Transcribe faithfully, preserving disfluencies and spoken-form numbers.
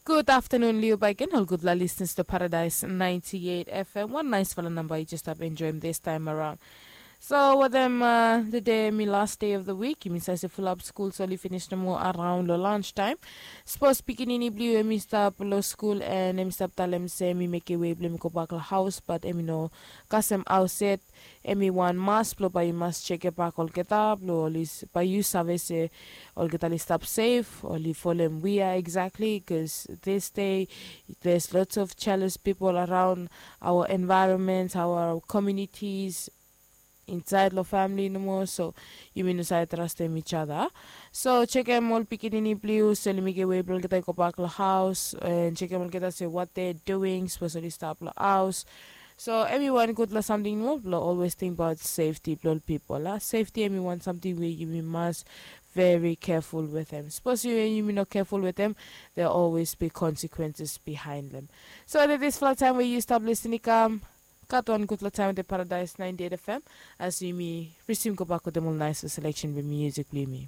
Gud aftanun long yu bakegen ol gudfala lisners blong Paradise ninety eight F M. Wan naesfala namba yu jes stap enjoem this time around. So wetem the day em i last day of the week, yumi save se fulap skul so oli finis nomo araon long lunch taem. Sapos pikinini blong yu em i stap long skul and em i stap talem se em i mekem wei blong em i gobak long haos, bat em i no kasem haos yet, em i wan mas blong bae yu mas jekebak olgeta blong oli bae yu save se olgeta oli stap sef, oli folem wia eksakli, bikos this day there's lots of jealous people around our environment, our communities, insaed long famili nomo. So yumi no save trastem each other. So jekem ol pikinini blong yu se oli mekem wei blong olgeta i gobak long haos, and jekem olgeta se what they're doing, sapos oli stap long haos. So em i wan gudfala samting nomo blong always tingbaot sefti blong ol pipol a. Sefti em i wan samting we yumi mas very careful wetem. Sapos yumi no careful wetem, there always be consequences behind them. So at disfala taem we yu stap lisin i kam, gat wan gudfala taem wetem Paradise ninety eight F M as yumi risim gobak wetem ol naesfala seleksen blong musik blong yumi.